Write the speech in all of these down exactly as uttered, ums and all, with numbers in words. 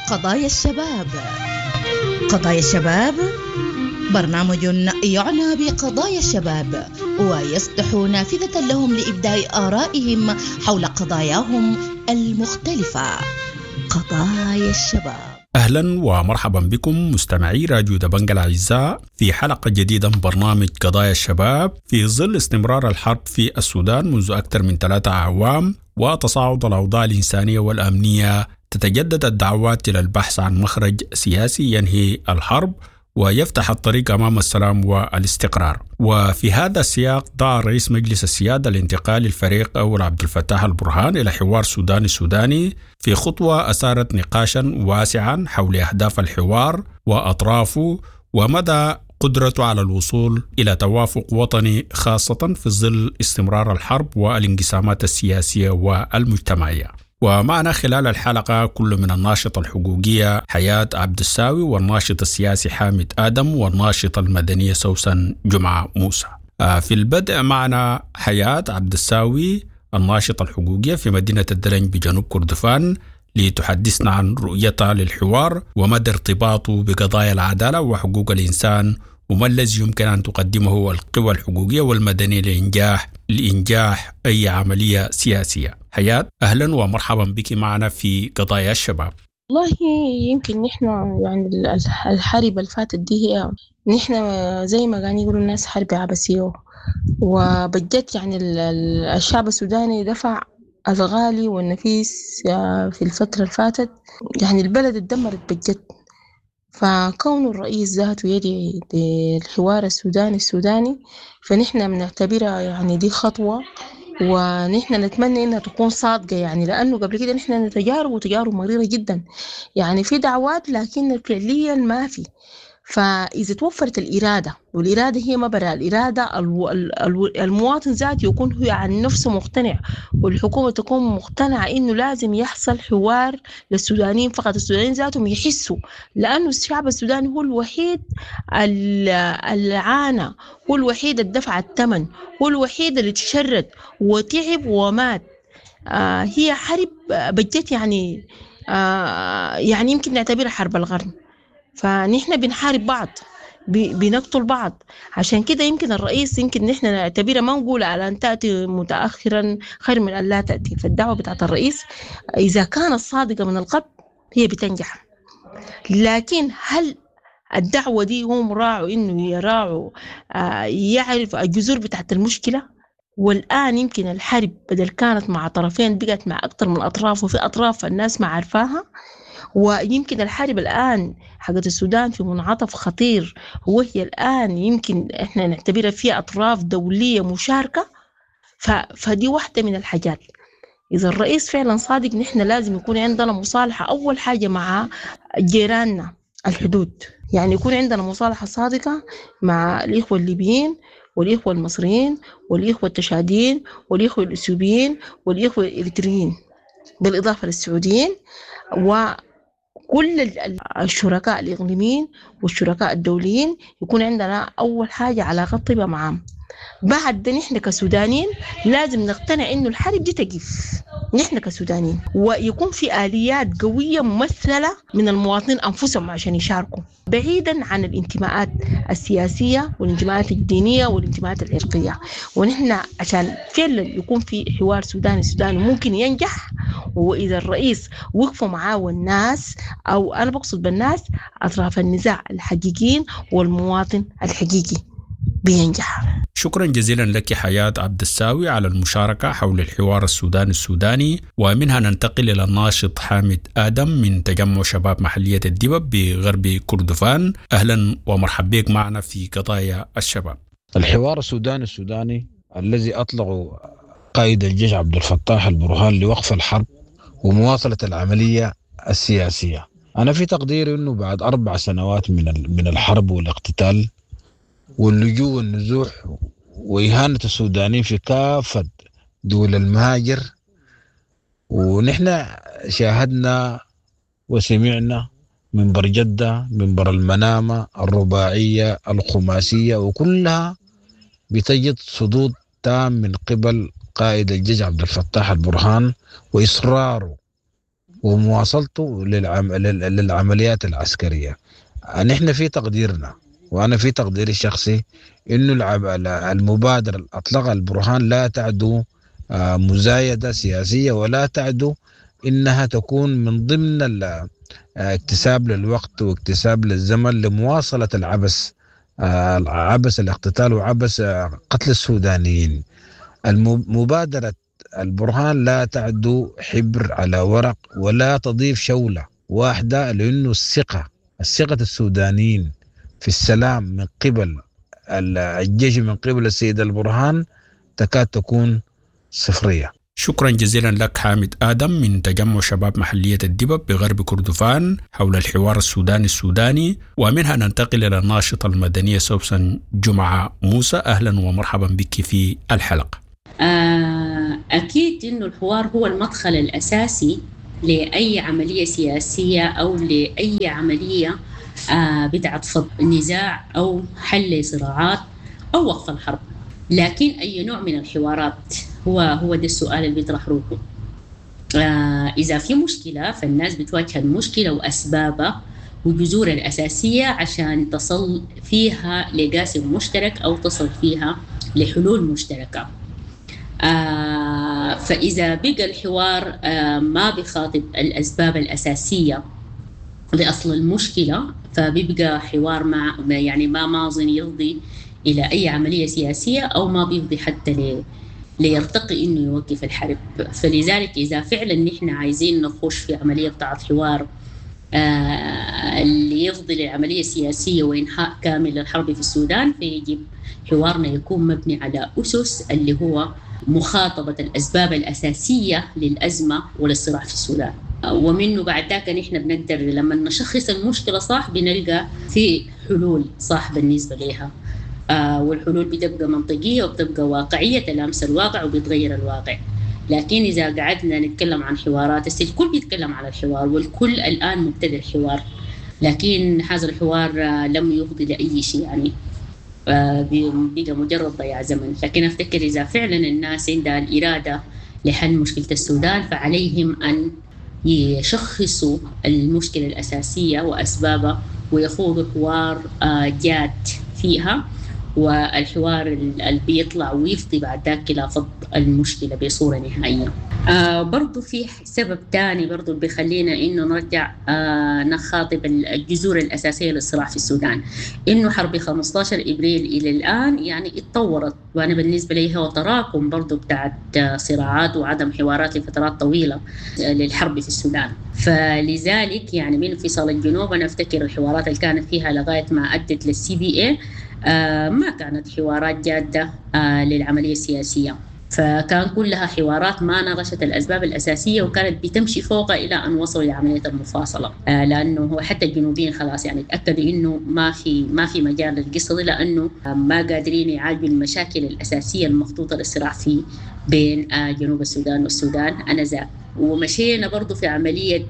قضايا الشباب. قضايا الشباب برنامج يعنى بقضايا الشباب ويفتح نافذة لهم لإبداء آرائهم حول قضاياهم المختلفة. قضايا الشباب. أهلا ومرحبا بكم مستمعي راديو دبنج الأعزاء في حلقة جديدة من برنامج قضايا الشباب. في ظل استمرار الحرب في السودان منذ أكثر من ثلاثة أعوام وتصاعد الأوضاع الإنسانية والأمنية، تتجدد الدعوات إلى البحث عن مخرج سياسي ينهي الحرب ويفتح الطريق أمام السلام والاستقرار. وفي هذا السياق دعا رئيس مجلس السيادة الانتقالي الفريق أول عبد الفتاح البرهان إلى حوار سوداني سوداني في خطوة أثارت نقاشا واسعا حول أهداف الحوار وأطرافه ومدى قدرته على الوصول إلى توافق وطني، خاصة في ظل استمرار الحرب والانقسامات السياسية والمجتمعية. ومعنا خلال الحلقة كل من الناشطة الحقوقية حياة عبد الساوي والناشط السياسي حامد آدم والناشطة المدنية سوسن جمعة موسى. في البدء معنا حياة عبد الساوي الناشطة الحقوقية في مدينة الدلنج بجنوب كردفان لتحدثنا عن رؤيتها للحوار ومدى ارتباطه بقضايا العدالة وحقوق الإنسان وما الذي يمكن أن تقدمه القوى الحقوقية والمدنية لإنجاح لإنجاح أي عملية سياسية. حياة، أهلا ومرحبا بك معنا في قضايا الشباب. والله يمكن نحن يعني الحرب اللي فاتت دي هي نحن زي ما كانوا يقولوا الناس حرب عبثية، وبجد يعني الشعب السوداني دفع الغالي والنفيس في الفترة اللي فاتت، يعني البلد اتدمرت بجد. فكون الرئيس ذاته يدعي للحوار السوداني السوداني فنحن بنعتبرها يعني دي خطوة، ونحن نتمنى انها تكون صادقة، يعني لانه قبل كده نحن تجارب وتجارب مريرة جدا، يعني في دعوات لكن فعليا ما في. فإذا توفرت الإرادة، والإرادة هي ما برا الإرادة، المواطن ذاته يكون هو عن نفسه مقتنع، والحكومة تكون مقتنعة إنه لازم يحصل حوار للسودانيين فقط، السودانيين ذاتهم يحسوا، لأنه الشعب السوداني هو الوحيد اللي عانى، هو الوحيد اللي دفع الثمن، هو الوحيد اللي تشرد وتعب ومات. آه هي حرب بجت يعني آه يعني يمكن نعتبرها حرب القرن. فنحن بنحارب بعض، بنقتل بعض، عشان كده يمكن الرئيس يمكن نحن نعتبرها ما نقول على أن تأتي متأخرا خير من أن لا تأتي. فالدعوة بتاعت الرئيس إذا كانت صادقة من القلب هي بتنجح، لكن هل الدعوة دي هم راعوا إنه يراعوا آه يعرف الجذور بتاعت المشكلة؟ والآن يمكن الحرب بدل كانت مع طرفين بقت مع أكثر من أطراف، وفي أطراف الناس ما عارفاها. ويمكن الحرب الآن حقت السودان في منعطف خطير، وهي الآن يمكن إحنا نعتبرها فيها أطراف دولية مشاركة. فدي واحدة من الحاجات. إذا الرئيس فعلا صادق نحن لازم يكون عندنا مصالحة أول حاجة مع جيراننا الحدود، يعني يكون عندنا مصالحة صادقة مع الإخوة الليبيين والإخوة المصريين والإخوة التشاديين والإخوة الإثيوبيين والإخوة الإريتريين، بالإضافة للسعوديين و كل الشركاء الإقليميين والشركاء الدوليين. يكون عندنا أول حاجة علاقة طيبة معهم. بعد ده نحن كسودانيين لازم نقتنع إنه الحرب دي تقف، نحن كسودانيين، ويكون في آليات قوية ممثلة من المواطنين أنفسهم عشان يشاركوا، بعيدا عن الانتماءات السياسية والانتماءات الدينية والانتماءات العرقية. ونحن عشان فعلا يكون في حوار سوداني سوداني ممكن ينجح، وإذا الرئيس وقفوا معاه والناس، أو أنا بقصد بالناس أطراف النزاع الحقيقيين والمواطن الحقيقي، بينجح. شكرا جزيلا لك حياة عبد الساوي على المشاركة حول الحوار السوداني السوداني. ومنها ننتقل إلى الناشط حامد آدم من تجمع شباب محلية الدبب بغرب كردفان. أهلا ومرحبا بك معنا في قضايا الشباب. الحوار السوداني السوداني الذي أطلقه قائد الجيش عبد الفتاح البرهان لوقف الحرب ومواصلة العملية السياسية، أنا في تقديري أنه بعد أربع سنوات من من الحرب والاقتتال واللجوء والنزوح وإهانة السودانيين في كافة دول المهاجر، ونحن شاهدنا وسمعنا منبر جدة، منبر المنامة، الرباعية، الخماسية، وكلها بتجد صدود تام من قبل قائد الجيش عبد الفتاح البرهان وإصراره ومواصلته للعم... للعمليات العسكرية. نحن في تقديرنا، وأنا في تقديري الشخصي، إنه المبادرة اللي أطلقها البرهان لا تعدو مزايدة سياسية، ولا تعدو إنها تكون من ضمن اكتساب للوقت واكتساب للزمن لمواصلة العبث، عبث الاقتتال وعبث قتل السودانيين. المبادرة البرهان لا تعدو حبر على ورق ولا تضيف شولة واحدة، لأنه الثقة الثقة السودانيين في السلام من قبل الجيش من قبل السيد البرهان تكاد تكون صفرية. شكرا جزيلا لك حامد آدم من تجمع شباب محلية الدبب بغرب كردفان حول الحوار السوداني السوداني. ومنها ننتقل إلى الناشطة المدنية سوسن جمعة موسى. أهلا ومرحبا بك في الحلقة. أكيد إنه الحوار هو المدخل الأساسي لأي عملية سياسية أو لأي عملية بتاعت فض نزاع أو حل صراعات أو وقف الحرب. لكن أي نوع من الحوارات هو هو ده السؤال اللي بيطرح روحه. آه إذا في مشكلة فالناس بتواجه المشكلة وأسبابها وجذورها الأساسية عشان تصل فيها لقاسم مشترك أو تصل فيها لحلول مشتركة. آه فإذا بقى الحوار آه ما بخاطب الأسباب الأساسية لأصل المشكلة، فبيبقى حوار مع يعني ما ماظن يرضي إلى أي عملية سياسية أو ما بيفضي حتى لي ليرتقي إنه يوقف الحرب. فلذلك إذا فعلا نحن عايزين نخش في عملية بتاعت حوار آه اللي يفضي للعملية السياسية وإنهاء كامل للحرب في السودان، فيجب حوارنا يكون مبني على أسس اللي هو مخاطبة الأسباب الأساسية للأزمة وللصراع في السودان. ومنه بعد ذاك نحن بنقدر لما نشخص المشكلة صح بنلقى في حلول صح بالنسبة لها، آه والحلول بتبقى منطقية وبتبقى واقعية تلامس الواقع وبتغير الواقع. لكن إذا قعدنا نتكلم عن حوارات، الكل بيتكلم على الحوار والكل الآن مبتدئ الحوار، لكن هذا الحوار لم يفضي لأي شيء، يعني آه بقى مجرد ضياع زمن. لكن أفتكر إذا فعلا الناس عندها الإرادة لحل مشكلة السودان فعليهم أن يشخصوا المشكلة الأساسية وأسبابها ويخوضوا حوار آه جاد فيها، والحوار اللي بيطلع ويفضي بعد ذاك إلى فض المشكلة بصورة نهائية. آه برضو في سبب تاني برضو بيخلينا إنه نرجع آه نخاطب الجذور الأساسية للصراع في السودان، إنه حرب خمسة عشر إبريل إلى الآن يعني اتطورت، وأنا بالنسبة لي هو تراكم برضو بتاعت صراعات وعدم حوارات لفترات طويلة للحرب في السودان. فلذلك يعني من انفصال الجنوب أنا أفتكر الحوارات اللي كانت فيها لغاية ما أدت للسي بي إيه آه ما كانت حوارات جادة آه للعملية السياسية، فكان كلها حوارات ما ناقشت الأسباب الأساسية وكانت بتمشي فوقها إلى أن وصلوا لعملية المفاصلة. آه لأنه هو حتى الجنوبيين خلاص يعني تأكدوا إنه ما في ما في مجال للقصة دي، لأنه ما قادرين يعالجوا المشاكل الأساسية المخطوطة للصراع في بين آه جنوب السودان والسودان آنذاك. ومشينا برضو في عملية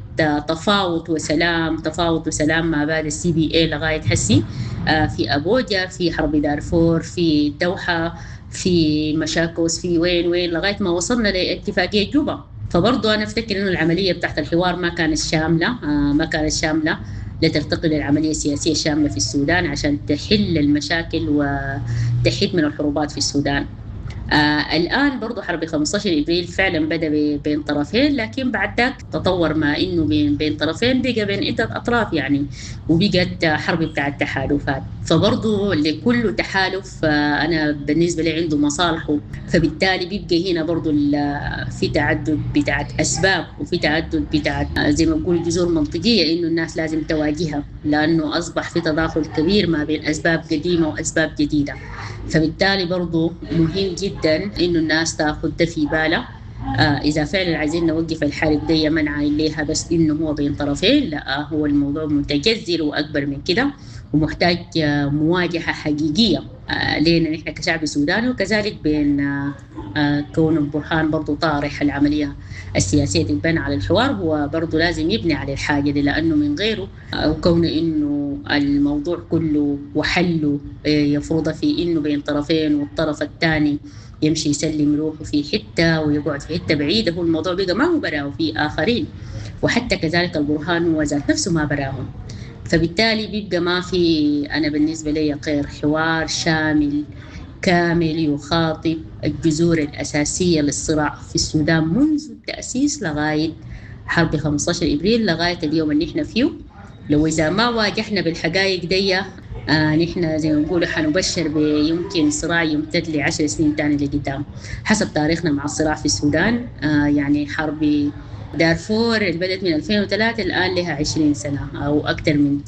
تفاوض وسلام، تفاوض وسلام ما بعد السي بي اي لغاية حسي في أبوجا، في حرب دارفور، في الدوحة، في مشاكوس، في وين وين لغاية ما وصلنا لاتفاقية جوبا. فبرضو أنا أفتكر إنه العملية بتاعت الحوار ما كانت شاملة، ما كانت شاملة لترتقي للعملية السياسية الشاملة في السودان عشان تحل المشاكل وتحد من الحروبات في السودان. آه الآن برضو حرب خمسة عشر إبريل فعلا بدأ بين طرفين، لكن بعد ذاك تطور ما إنه بين بين طرفين بقى بين عدة أطراف يعني، وبقت حرب بتاع التحالفات. فبرضو لكل تحالف آه أنا بالنسبة لي عنده مصالحه، فبالتالي بيبقى هنا برضو في تعدد بتاعت أسباب وفي تعدد بتاعت زي ما بقول جذور منطقية إنه الناس لازم تواجهها، لأنه أصبح في تداخل كبير ما بين أسباب قديمة وأسباب جديدة. فبالتالي برضو مهم جدا إنه الناس تاخد ده في بالها. آه إذا فعلا عايزين نوقف الحرب دي ما نعاين ليها بس إنه هو بين طرفين، لا هو الموضوع متجذر وأكبر من كده ومحتاج آه مواجهة حقيقية آه لنا نحن كشعب سوداني، وكذلك بين آه آه كون البرهان برضو طارح العملية السياسية تتبنى على الحوار، هو برضو لازم يبني على الحاجة دي، لأنه من غيره آه وكون إنه الموضوع كله وحله آه يفرض في إنه بين طرفين والطرف الثاني يمشي يسلم روحه في حتة ويقعد في حتة بعيدة، هو الموضوع بقى ما هو براه وفي آخرين. وحتى كذلك البرهان هو ذات نفسه ما براهم. فبالتالي بيبقى ما في، أنا بالنسبة لي غير حوار شامل كامل يخاطب الجذور الأساسية للصراع في السودان منذ التأسيس لغاية حرب خمستاشر إبريل، لغاية اليوم اللي نحن فيه. لو إذا ما واجهنا بالحقائق دي، آه نحن زي ما نقول حنبشر بيمكن صراع يمتد لعشر سنين تاني لقدام حسب تاريخنا مع الصراع في السودان. آه يعني حرب دارفور اللي بدأت من ألفين وثلاثة الآن لها عشرين سنة أو أكثر من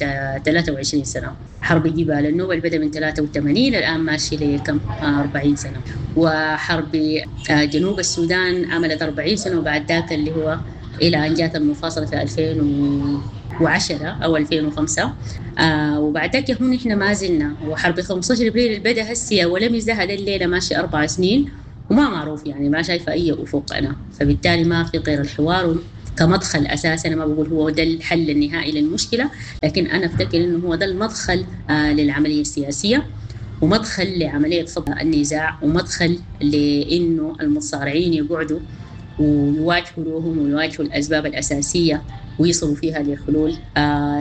ثلاثة وعشرين سنة. حرب جبال النوبة اللي بدأ من ثلاثة وثمانين الآن ماشي لكم أربعين سنة. وحرب جنوب السودان عملت أربعين سنة، وبعد ذاك اللي هو إلى أن جاءت المفاصلة في ألفين وعشرة أو ألفين وخمسة. آه وبعد ذاك هون إحنا ما زلنا. وحرب خمستاشر إبريل اللي بدأ هسي ولم يزدهد الليلة ماشي أربع سنين وما معروف، يعني ما شايفة أي أفق أنا. فبالتالي ما في غير الحوار كمدخل أساسي. أنا ما بقول هو ده الحل النهائي للمشكلة، لكن أنا أفتكر إنه هو ده المدخل آه للعملية السياسية، ومدخل لعملية فض النزاع، ومدخل لإنه المتصارعين يقعدوا ويواجهوا لهم ويواجهوا الأسباب الأساسية ويصلوا فيها لحلول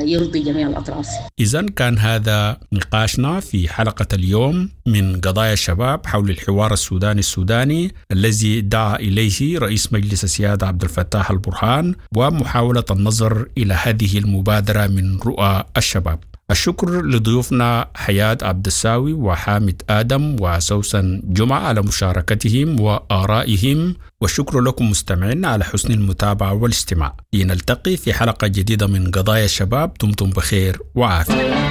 يرضي جميع الأطراف. إذن كان هذا نقاشنا في حلقة اليوم من قضايا الشباب حول الحوار السوداني السوداني الذي دعا إليه رئيس مجلس السيادة عبد الفتاح البرهان، ومحاولة النظر إلى هذه المبادرة من رؤى الشباب. الشكر لضيوفنا حياة عبد الساوي وحامد آدم وسوسن جمعة على مشاركتهم وآرائهم، والشكر لكم مستمعين على حسن المتابعة والاستماع. لنلتقي في حلقة جديدة من قضايا الشباب. دمتم بخير وعافية.